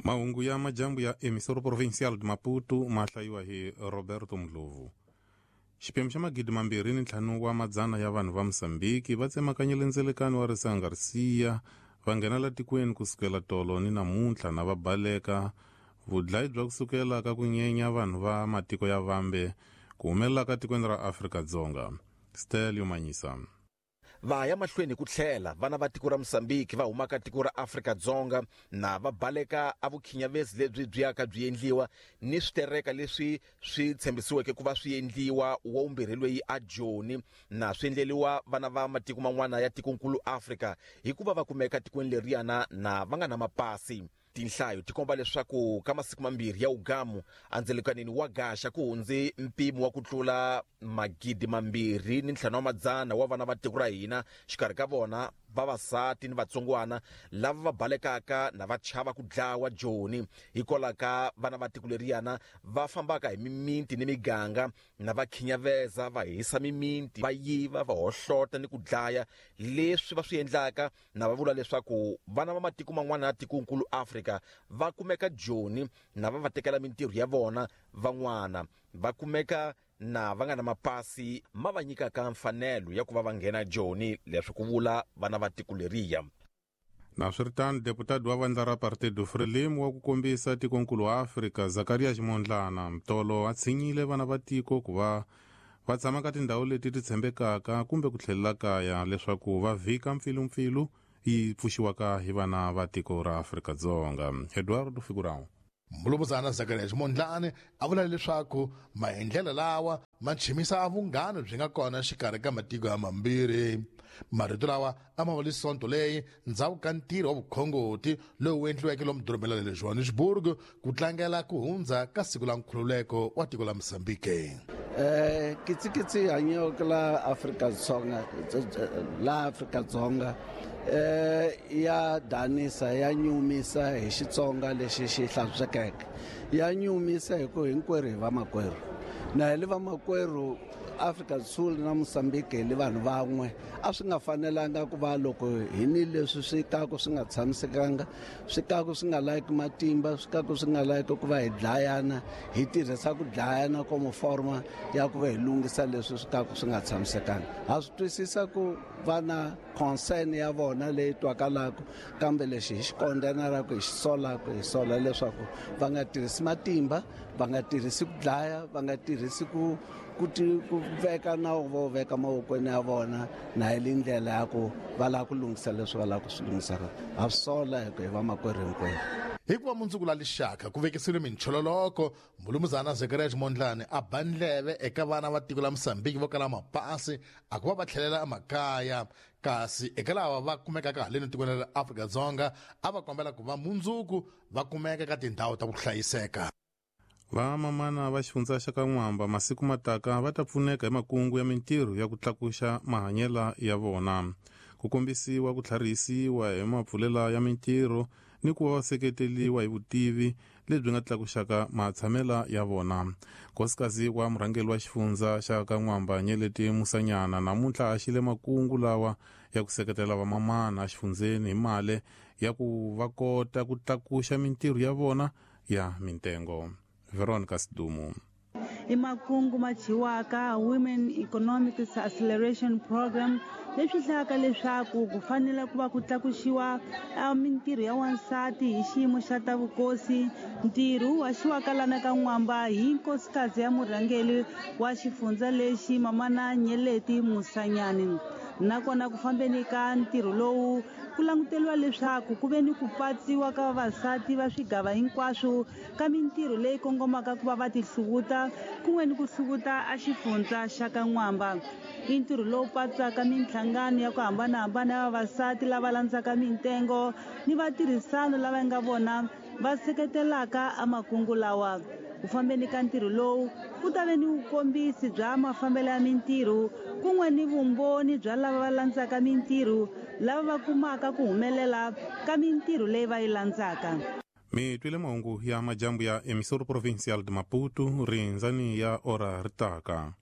Mahungu ya majambu ya Emissora Provincial de Maputo ma hlayiwa hi Roberto Ndlovu. Xiphemu xa 2500 wa madzana ya vanhu va Mozambiki va tsemakanyile ndzelekano wa Risanga Garcia va nghena la tikweni kusukela tolo ni namuntlha na va baleka vudlayi bya kusukela ka ku nyenya vanhu va matiko ya vambe ku humelela ka tikweni ra Afrika-Dzonga. Stelio Manyisa. Va ya mahlweni ku tlhela vana va tiko ra Mozambique va humaka tiko ra Afrika-Dzonga na va baleka a vukhinyavezi lebyi byi yaka byi endliwa ni switereka leswi swi tshembisiweke ku va swi endliwa wa vumbirhi loyi a Joni na swi endleliwa vana va matiko man'wana ya tikonkulu Afrika hikuva va kumeka tikweni leriyana na va nga na mapasi. Tinhlayo ti komba leswaku ka masiku mambirhi ya ugamu andzelekanini wa Gaxa ku hundze mpimo wa ku tlula 2500 wa vana va tiko ra hina, xikarhi ka vona vavasati ni vatsongwana lava va balekaka na va chava ku dlawa Joni hikwalaho ka vana va tiko leriyana va fambaka hi mimiti ni miganga na va khinyaveza, va hisa mimiti, va yiva, va hohlota ni ku dlaya. Leswi va swi endlaka na va vula leswaku vana va matiko man'wana ya tikonkulu Afrika va kumeka Joni na va va tekela mintirho ya vona, van'wana va kumeka na va nga na mapasi ma va nyikaka mfanelo ya ku va va nghena Joni, leswi ku vula vana va tiko leriya. Naswiritano, deputado wa vandla ra Partido Frelimo wa ku kombisa tikonkulu wa Afrika Zakaria Ximondlana mtolo a tshinyile vana va tiko ku va va tshama ka tindhawu leti ti tshembekaka kumbe ku tlhelela kaya leswaku va vhika mpfilumpfilu yi pfuxiwaka hi vana va tiko ra Afrika-Dzonga. Eduardo Figurão. Mulumuzana Zakaria Ximondlane a vula leswaku maendlelo lawa ma chimisa vunghana byi nga kona xikarhi ka matiko ya mambirhi. Marito lawa a ma vuli sonto leyi ndzhaku ka ntirho wa vukhongoti lowu endliweke lomu dorobeni ra le Johannesburg ku tlangela ku hundza ka siku la nkhululeko wa tiko la Mozambique. Kitsikitsi hanyeke la Afrika-Dzonga, la Afrika-Dzonga ya danisa, ya nyumisa hi Xitsonga lexi xi hlantswekeke, ya nyumisa hi ku hinkwerhu hi vamakwerhu, na hi le vamakwerhu Afrika Sul na Mozambique hi le vanhu van'we. A swi nga fanelanga ku va loko hi ni leswi swi kaku swi nga tshamisekanga, swi kaku swi nga layiki matimba, swi kaku swi nga layiki ku va hi dlayana, hi tirhisa ku dlayana komo forma ya ku va hi lunghisa leswi swi kaku swi nga tshamisekanga. Ha swi twisisa ku va na concern ya vona leyi twakalaka, kambe lexi hi xi kondzenelaka, hi xi solaka, hi sola leswaku va nga tirhisi matimba, va nga tirhisi ku dlaya, va nga tirhisi ku ku veka nawu vo veka mavokweni ya vona, na hi le ndlela ya ku va lava ku lunghisa leswi va lava ku swi lunghisaka. Ha swi sola hi ku hi vamakwerhu hinkwerhu. Hikuva mundzuku la lixaka ku vekisiwile minchololoko, Mulumuzana Zakaria Ximondlane a ba ndleve eka vana va tiko la Mozambique vo kala mapasi a ku va va tlhelela emakaya, kasi eka lava va kumekaka haleni tikweni ra Afrika-Dzonga a va kombela ku va mundzuku va kumeka ka tindhawu ta ku hlayiseka. Vamamana va xifundza xa ka N'wamba masiku mataka va ta pfuneka hi makungu ya mintirho ya ku tlakuxa mahanyela ya vona, ku kombisiwa ku tlharihisiwa hi mapfulela ya mintirho ni ku va va seketeliwa hi vutivi lebyi nga tlakuxaka matshamela ya vona. Nkosikazi wa murhangeri wa xifundza xa ka N'wamba Nyeleti Musanyana namuntlha a xile makungu lawa ya ku seketela vamamana exifundzeni hi mali ya ku va kota ku tlakuxa mintirho ya vona ya mintengo. Veronica Sidumo. I makungu ma dyiwaka Women Economic Acceleration Program, leswi hlayaka leswaku ku fanele ku va ku tlakuxiwa mintirho ya wansati hi xiyimo xa ta vukosi. Ntirho wu haxiwaka lana ka N'wamba hi nkosikazi ya murhangeri wa xifundza lexi Mamana Nyeleti Musanyani. Nakona ku fambeni ka ntirho lowu ku languteriwa leswaku ku ve ni ku patsiwa ka vavasati va swigava hinkwaswo ka mintirho leyi kongomaka ku va va tihluvuta kun'we ni ku hluvuta a xifundza xa ka N'wamba. I ntirho lowu patsaka minhlangano ya ku hambanahambana ya vavasati lava landzaka mintengo ni vatirhisano lava nga vona va seketelaka a makungu lawa. Ku fambeni ka ntirho lowu ku ta ve ni vukombisi bya mafambelo ya mintirho kun'we ni vumbhoni bya lava va landzaka mintirho lava va kumaka ku humelela ka mintirho leyi va yi landzaka. Mi twile mahungu ya majambu ya Emissora Provincial de Maputo, rindzani ya ora ri taka.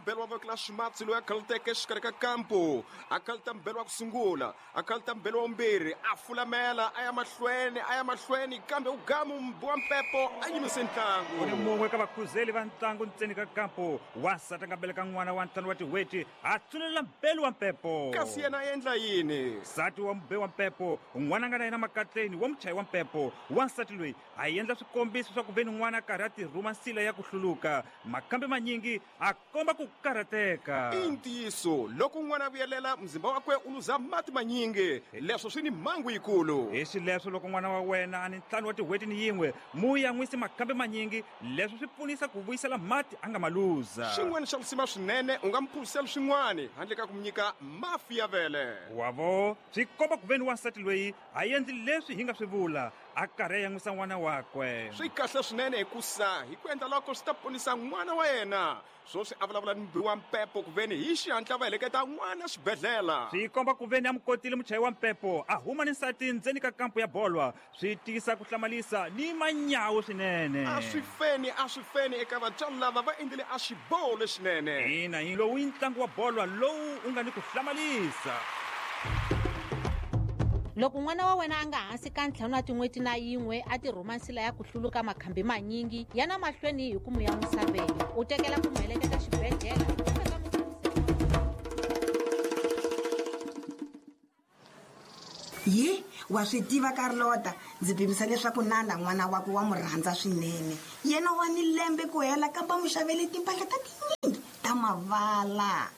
mbelo wa voko la ximatsi loyi a khaluteke exikarhi ka kampu. A khaluta mbelo wa ku sungula, a khaluta mbelo wa vumbirhi, a fulamela a ya mahlweni, a ya mahlweni, kambe u gamu mbi wa mpepo a yimise ntlangu. U ni mun'we ka vakhuzeli va ntlangu ntseni ka kampu. Wansati a nga beleka n'wana wa ntlhanu wa tin'hweti, a tsunelela mbelu wa mpepo. Kasi yena a endla yini? Nsati wa mube wa mpepo, n'wana a nga na yena makatleni wa muchayi wa mpepo. Wansati loyi a endla swikombiso swa ku ve ni n'wana a karhi a tirhuma nsila ya ku hluluka. Makambe manyingi a komba ku karhateka. I ntiyiso, loko n'wana a vuyelela, muzimba wakwe u luza mati manyingi. Leswo swi ni mhangu yikulu. Hi xileswo, loko n'wana wa wena a ni ntlhanu wa tin'hweti ni yin'we, mu yan'wisi makambe manyingi. Leswo swi pfunisa ku vuyisela mati a nga ma luza. Xin'wana xa lisima swinene, u nga mu phuzisela swin'wana handle ka ku mu nyika mafi ya vele. Wa vo, swi komba ku ve ni wansati loyi a endli leswi hi nga swi vula, a karhi a yan'wisa n'wana wakwe. Swi kahle swinene hikusa hi ku endla loko swi ta ponisa n'wana wa yena. Swoswi a vulavula ni mubi wa mpepo kuveni hi xihatla va heleketa n'wana xibedhlela. Swi komba kuveni a mu kotile muchayi wa mpepo a huma ni nsati ndzeni ka kampu ya bolwa. Swi tiyisa ku hlamalisa ni manyawu swinene. A swi feni, a swi feni eka vatswari lava va endlile a xiboho lexinene. Ina, hi lowu i ntlangu wa bolwa lowu u nga ni ku hlamalisa. Loko n'wana wa wena a nga hansi ka ntlhanu wa tin'hweti na yin'we a tirhuma nsila ya ku hluluka makhambi manyingi, yana mahlweni hi ku mu yan'wisa vele, u tekela ku mu heleketa xibedhlele kumbe ka Ye, wa swi tiva Carlota, ndzi pimisa leswaku Nanda n'wana wakwe wa mu rhandza swinene. Yena wa ni lembe ku hela kambe a mu xavele timpahla ta tinyingi ta mavala.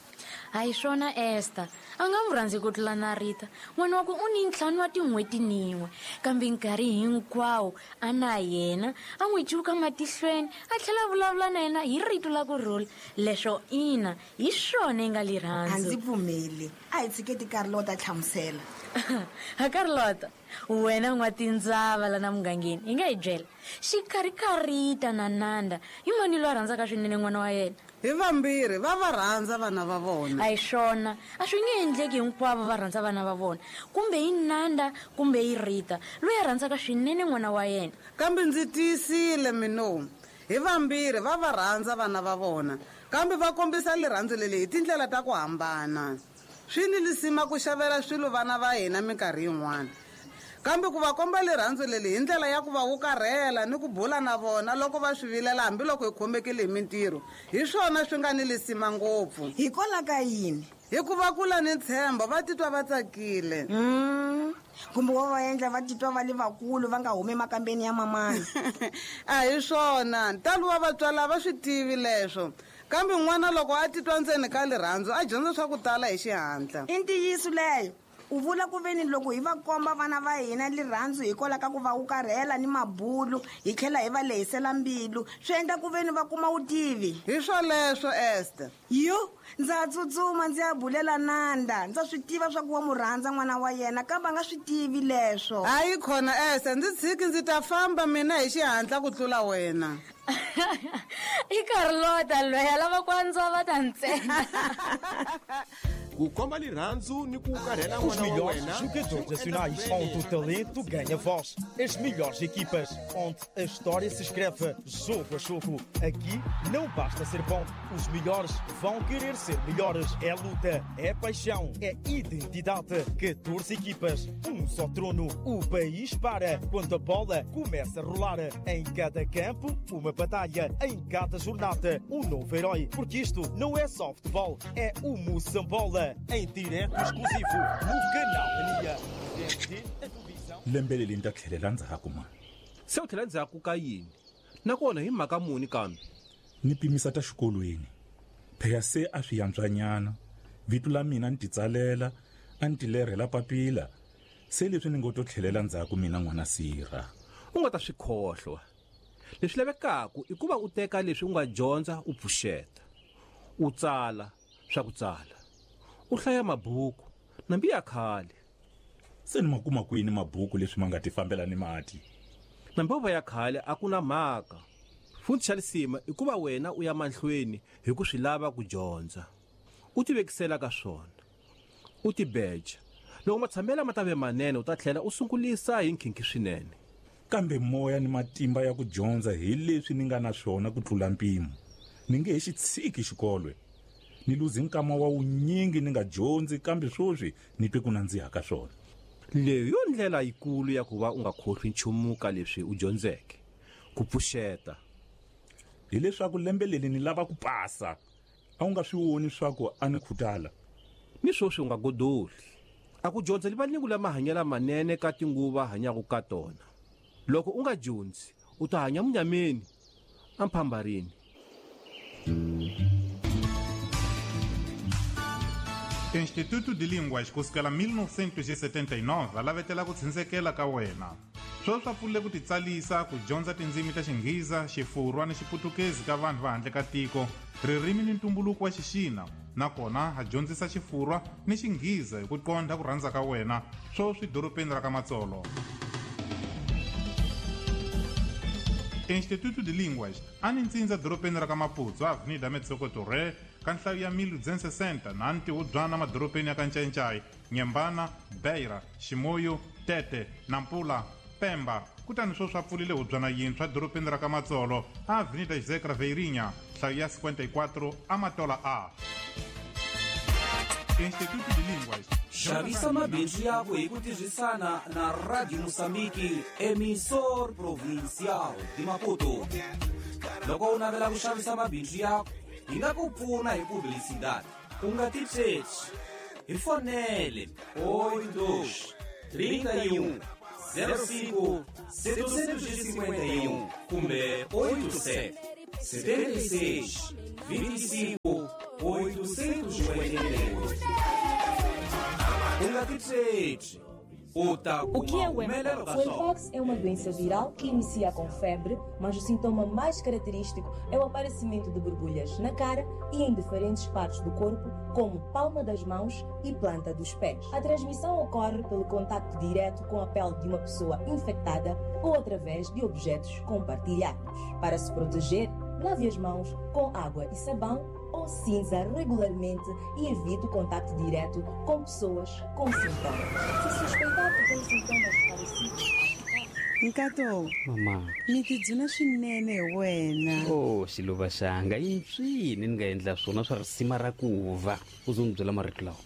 A hi swona Esther, a nga n'wi rhandzi ku tlula na Rita. N'wana wakwe u ni ntlhanu wa tin'hweti nin'we, kambe nkarhi hinkwawo a na yena, a n'wi cuka matihlweni, a tlhela a vulavula na yena hi rito la ku rhula. Leswo ina, hi swona i nga lirhandzu. A ndzi pfumeli. A hi tshiketi Carlota a hlamusela. Ha Carlota, wena n'watindzava lana mugangeni, hi nga hi byela, xikarhi ka Rita na Nanda, i mani loyi a rhandzaka swinene n'wana wa yena? Hi vambirhi va va rhandza vana va vona. A hi swona, a swi nge endleki hinkwavo va rhandza vana va vona, kumbe i Nanda kumbe i Rita loyi a rhandzaka swinene n'wana wa yena. Kambe ndzi tiyisile mino, hi vambirhi va va rhandza vana va vona, kambe va kombisa lirhandzu leri hi tindlela ta ku hambana. Swi ni lisima ku xavela swilo vana va hina minkarhi yin'wana, kambe ku va komba lirhandzu leri hi ndlela ya ku va wukarhela ni ku bula na vona loko va swi vilela hambiloko hi khomekile hi mintirho, hi swona swi nga ni lisima ngopfu. Hikwalaho ka yini? Hikuva kula ni ntshembo, va titwa va tsakile. Kumbe wa va endla va titwa va le vakulu, va nga humi emakambeni ya mamana. A hi swona, ntalo wa vatswari a va swi tivi leswo. Kambe n'wana loko a titwa ndzeni ka lirhandzu, a dyondza swa ku tala hi xihatla. I ntiyiso leyo. U vula ku veni loko hi va komba vana va hina lirhandzu hikwalaho ka ku va wukarhela ni mabulu, hi tlhela hi va lehisela mbilu, swi endla ku veni va kuma vutivi. Hi swoleswo, Esther. Yo, ndza tsutsuma ndzi ya bulela Nanda. Ndza swi tiva swa ku wa mu rhandza n'wana wa yena, kambe a nga swi tivi leswo. Hayi khona, Esther, ndzi tshiki ndzi ta famba mina hi xihatla ku tlula wena. I Carlota loyi a lava ku andzwa ta ntsena. Ku komba lirhandzu ni ku karhela Os n'wana wa melhores wena jogadores nacionais, onde o talento ganha voz. As melhores equipas, onde a história se escreve jogo a jogo. Aqui não basta ser bom, os melhores vão querer ser melhores. É luta, é paixão, é identidade. 14 equipas, um só trono. O país para quando a bola começa a rolar. Em cada campo, uma batalha. Em cada jornada, um novo herói. Porque isto não é só futebol, é o Moçambola. Em direto exclusivo no Canal Mania. Desde a televisão. Lembe leri ni ta tlhelela ndzhaku mani. Se u tlhela ndzhaku ka yini? Nakona hi mhaka muni kambe? Ni pimisa ta xikolweni. Phela se a swi yantswanyana. Vito la mina ni titsalela, a ni tilerhela papila. Se leswi ni ngo to tlhelela ndzhaku mina n'wana sirha. U nga ta swi khohlwa. Leswi lavekaka i ku va u teka leswi u nga dyondza u pfuxeta. U tsala swa ku tsala. U hlaya mabuku nambi ya khale. Se ni ma kuma kwini mabuku leswi ma nga ti fambela ni mati? Nambi yo va ya khale a ku na mhaka. Futhi xa lisima i ku va wena u ya mahlweni hi ku swi lava ku dyondza. U tivekisela ka swona. U tibeja. Loko matshamelo ma ta ve manene u ta tlhela u sungulisa hi nkhinkhi swinene. Kambe moya ni matimba ya ku dyondza hi leswi ni nga na swona ku tlula mpimo. Ni nge he xi tshiki xikolo. Ni luze nkama wa wunyingi ni nga dyondzi, kambe swoswi ni twe ku nandziha ka swona. Leyi yo ndlela yikulu ya ku va u nga khohlwi nchumu ka leswi u dyondzeke, ku pfuxeta. Hileswaku lembe leri ni lava ku pasa. A wu nga swi voni swa ku a ni khutala. Ni swoswi u nga godoli. A ku dyondza livalingu la mahanyelo manene ka tinguva hanyaka ka tona. Loko u nga dyondzi, u ta hanya munyameni, amphambarini. Instituto de Línguas kusukela 1979 va lavetela ku tshindzekela ka wena. Sweswi va pfulile ku titsalisa ku dyondza tindzimi ta Xinghiza, Xifurwa ni Xiputukezi ka vanhu va handle ka tiko, ririmi ni ntumbuluko wa Xixina, nakona ha dyondzisa Xifurwa ni Xinghiza hi ku qondha ku rhandza ka wena, sweswi dorobeni ra ka Matsolo. Instituto de Línguas a ni ntsindza dorobeni ra ka Maputo, Avenida Metsoko Torre, ka nhlayo ya 1260 na ntihubyana madorobeni ya ka Ncayincai, Nyembana, Beira, Ximoyo, Tete, Nampula, Pemba. Kutani sweswi a pfulile hubyana yintshwa dorobeni ra ka Matsolo, Avenida José Craveirinha, nhlayo ya 54 Amatola A. Instituto de Línguas. Xavisa mabindzu yako hi ku tirhisana na Radio Moçambique, emissor provincial de Maputo. Loko u navela ku xavisa mabindzu yako, hi nga ku pfuna hi publicidade. U nga titsheci. Hi fonele 82 31 05 751 kumbe 87 76 25 848. U nga titsheci. O que é o Mpox? O Mpox é uma doença viral que inicia com febre, mas o sintoma mais característico é o aparecimento de borbulhas na cara e em diferentes partes do corpo, como palma das mãos e planta dos pés. A transmissão ocorre pelo contato direto com a pele de uma pessoa infectada ou através de objetos compartilhados. Para se proteger, lave as mãos com água e sabão ou cinza regularmente e evite o contato direto com pessoas com sintomas. Se suspeitar que tem sintomas parecidos. Nkato, mama, ni tidzuna swinene hi wena. Oh, xiluva xanga, i mpsini ni nga endla swona swa risima ra ku va u zo ni byela marito lawa.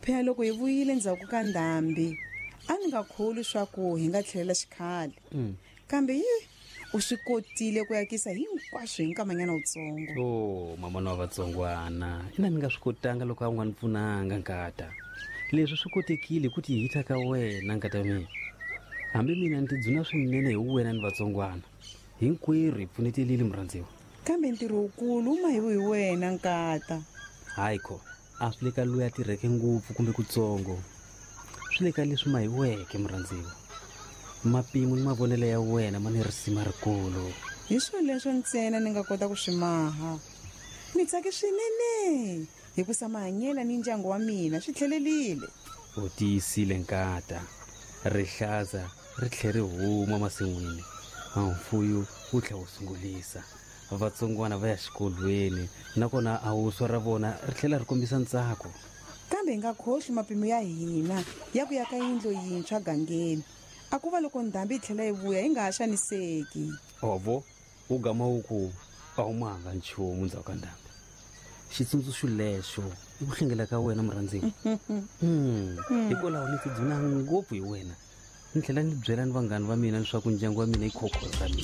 Phela loko hi vuyile ndzhaku ka ndhambi, a ni nga kholwi swa ku hi nga tlhelela xikhale. Kambe yi u swi kotile ku yakisa hinkwaswo hi nkamanyana wutsongo. Oh, mama na vatsongwana, ina ni nga swi kotanga loko a wu nga ni pfunanga nkata. Leswi swi kotekile ku tihita ka wena nkata mina. Hambi mina ni tidzuna swinene hi wena ni vatsongwana. Hinkwerhu hi pfunetelile murhandziwa. Kambe ntirho wukulu wu mahiwe hi wena nkata. Hayi kho, a swi le ka loyi a tirheke ngopfu kumbe kutsongo. Swi le ka leswi mahiweke murhandziwa. Mapimo ni mavonelo ya wena ma ni risima rikulu. Hi swoleswo ntsena ni nga kota ku swi maha. Ni tsake swinene hikusa mahanyela ni ndyangu wa mina swi tlhelelile. U tiyisile nkata. Rihlaza ri tlhe ri huma masin'wini. Mfuyo wu tlhe wu sungulisa. Vatsongwana va ya xikolweni nakona a wuswa ra vona ri tlhela ri kombisa ntsako. Kambe hi nga khohlwi mapimo ya hina ya ku ya ka yindlu yintshwa gangeni. A ku va loko ndhambi yi tlhela yi vuya yi nga ha xaniseki. Ovo wu gama wu ku a wu mahanga nchumu ndzhaku ka ndhambi. Xitsundzuxo lexo i ku hlengela ka wena murhandziwa. Hikwalaho ni tidzuna ngopfu hi wena. Ni tlhela ni byela ni vanghani va mina leswaku ndyangu wa mina i khokho ra mina.